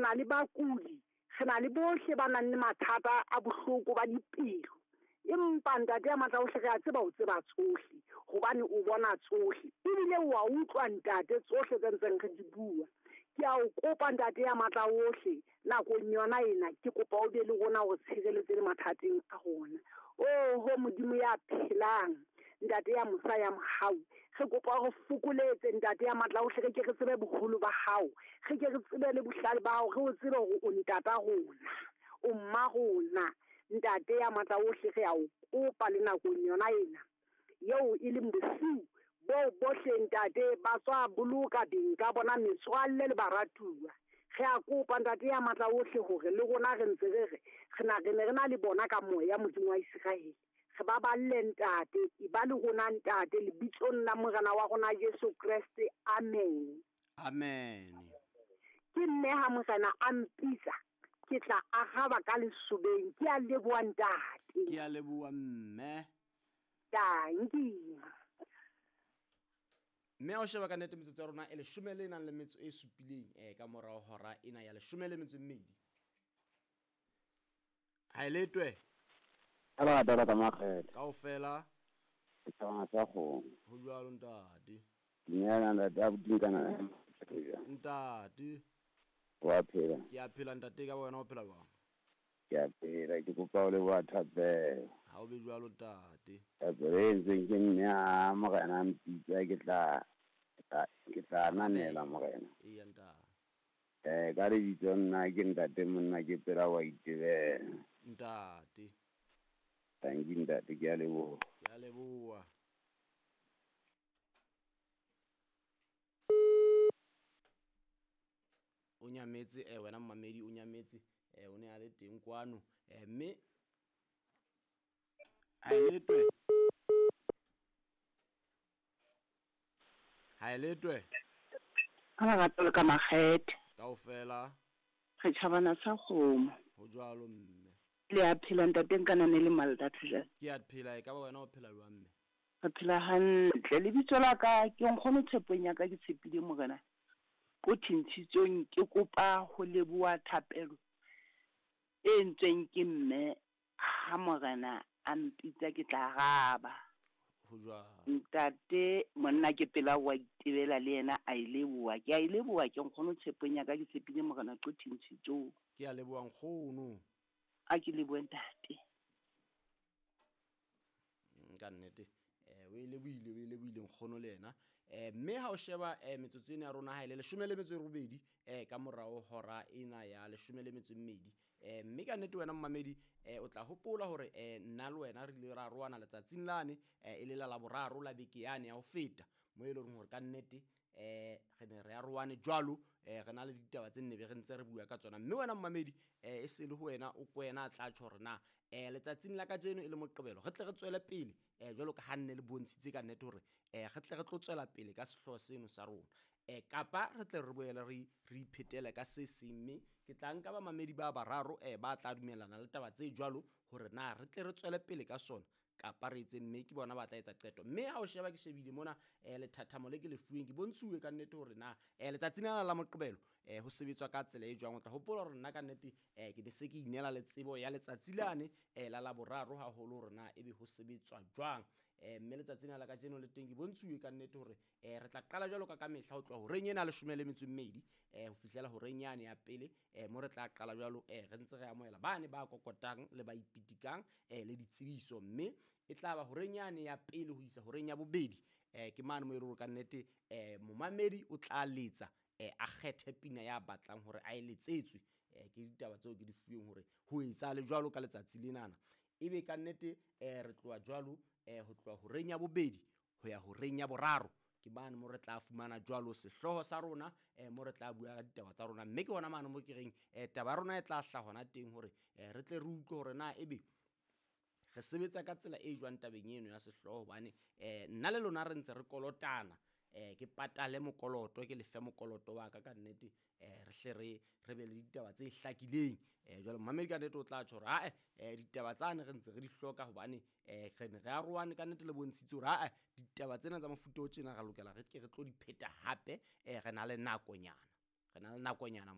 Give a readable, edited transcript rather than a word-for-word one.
na le bakudi, re na le bohle ba nang le mathata a bohloko ba dipelo. Empa Ntate ya matla ohle, re a tseba o tseba tsohle, hobane o bona tsohle. Ebile wa utlwa Ntate tsohle tse ntseng re di bua. Ke a o kopa Ntate ya matla ohle, nakong yona ena, ke kopa o be le rona o re tshireletse le mathateng a rona. Oho Modimo ya phelang, Ntate ya mosa ya mohau, re kopa o re fokoletse Ntate ya matla ohle, re ke re tsebe boholo ba hao, re ke re tsebe le bohlale ba hao, re o tsebe hore o ntata rona, o mma rona. Ntate ya matla ohle, re a o kopa le nakong yona ena eo e leng bosiu bo bohle Ntate ba tswa boloka beng ka bona metswalle le baratuwa. Re a kopa Ntate ya matla ohle hore le rona re ntse re re re na re ne re na le bona ka moya Modimo wa Iseraele. Re ba balle Ntate, e ba le rona Ntate, lebitsong la Morena wa rona Jesu Kreste. Amen. Amen. Ke nne ha Morena a mpitsa, ke tla araba ka lesobeng. Ke a leboha Ntate. Ke a leboha mme. Dankie. Mme ha o sheba ka nnete metsotso ya rona e leshome le nang le metso e supileng ka morao hora ena ya 12. Ha e letwe. Ka lerato la ka makgethe. Kaofela. Ke thabana sa kgomo. Ho jwalo ntate. Dumela ntate, abuti nkana. Ntate. Wa phela. Ke a phela ntate, ka wena o phela jwang? Ke a phela, ke kopa o leboha thapelo. Ha o be jwalo ntate. Thapelo e entsweng ke mme ha Morena a mpitsa, ke tla ananela Morena. Eya ntate. Ka lebitso nna ke ntate monna ke pela wa itebela. Ntate. Thank you ntate, ke a leboha. Ke a leboha. O nyametse wena mmamedi, o nyametse o ne a le teng kwano mme ha e letwe. Ha e letwe. Ka lerato le ka makgethe. Kaofela. Re tjhabana sa kgomo. Ho jwalo mme. Le a phela ntate nkanane le Maldatho jwale. Ke a phela, e ka ba wena o phela jwang mme? Re phela hantle. Lebitso la ka ke nkgono tshepong ya ka, ke tshepile Morena. Ko thintshitsong ke kopa ho leboha thapelo e entsweng ke mme ha Morena a mpitsa ke tla araba. Ho jwalo. Ntate monna ke pela wa itebela le yena a e leboha. Ke a e leboha ke nkgono tshepong ya ka, ke tshepile Morena ko thintshitsong. Ke a leboha nkgono. A ke lebohe ntate. Ka nnete o e lebohile nkgono le yena. Mme ha o sheba metsotso ena ya rona ha e le 18 ka morao hora ena ya 12. Mme ka nnete wena mmamedi o tla hopola hore nna le wena re ile ra roana letsatsing lane e le la Laboraro la beke yane ya ho feta, mo e leng hore ka nnete re ne re aroane jwalo, re na le ditaba tse nne be re ntse re bua ka tsona. Mme wena mmamedi e se le ho wena o kwena a tla tjho hore na letsatsing la kajeno e le Moqebelo re tle re tswele pele jwalo ka ha nne le bontshitse ka nnete hore re tle re tlo tswela pele ka sehlooho seno sa rona, kapa re tle re boele re iphetele ka se seng. Mme ke tla nka bamamedi ba bararo ba tla dumellana le taba tse jwalo hore na re tle re tswele pele ka sona kapa re etse, mme ke bona ba tla etsa qeto. Mme ha o sheba ke shebile mona lethathamo le ke le fuweng, ke bontshuwe ka nnete hore na letsatsing lena la Moqebelo ho sebetswa ka tsela e jwang. O tla hopola hore nna ka nnete ke ne se ke inela le tsebo ya letsatsi lane la Laboraro haholo hore na ebe ho sebetswa jwang. Mme letsatsing la kajeno le teng ke bontshuwe ka nnete hore re tla qala jwalo ka mehla ho tloha horeng ena 12 ho fihlela horeng yane ya pele, mo re tla qala jwalo re ntse re amohela bane ba kokotang le ba ipitikang le ditsebiso. Mme e tla ba horeng yane ya pele ho isa horeng ya bobedi, ke mane mo e re ka nnete momamedi o tla letsa a kgethe pina ya batlang hore a e letsetswe. Ke ditaba tseo ke di fuweng hore ho etsa le jwalo ka letsatsi lenana. Ebe ka nnete re tloha jwalo ho tloha horeng ya bobedi ho ya horeng ya boraro, ke mane mo re tla fumana jwalo sehlooho sa rona, mo re tla bua ka ditaba tsa rona. Mme ke hona mane mo ke reng taba ya rona e tla hlaha hona teng hore re tle re utlwe hore na ebe re sebetsa ka tsela e jwang tabeng eno ya sehlooho, hobane nna le lona re ntse re kolotana. Ke patale mokoloto, ke lefe mokoloto wa ka ka nnete, re hle re be le ditaba tse hlakileng. Jwale mmamedi ka nnete o tla tjho hore ae ditaba tsane re ntse re di hloka, hobane re ne re aroane ka nnete le bontshitse hore ae ditaba tsena tsa mofuta o tjena re lokela re ke re tlo di pheta hape. Re na le nakonyana, re na le nakonyana.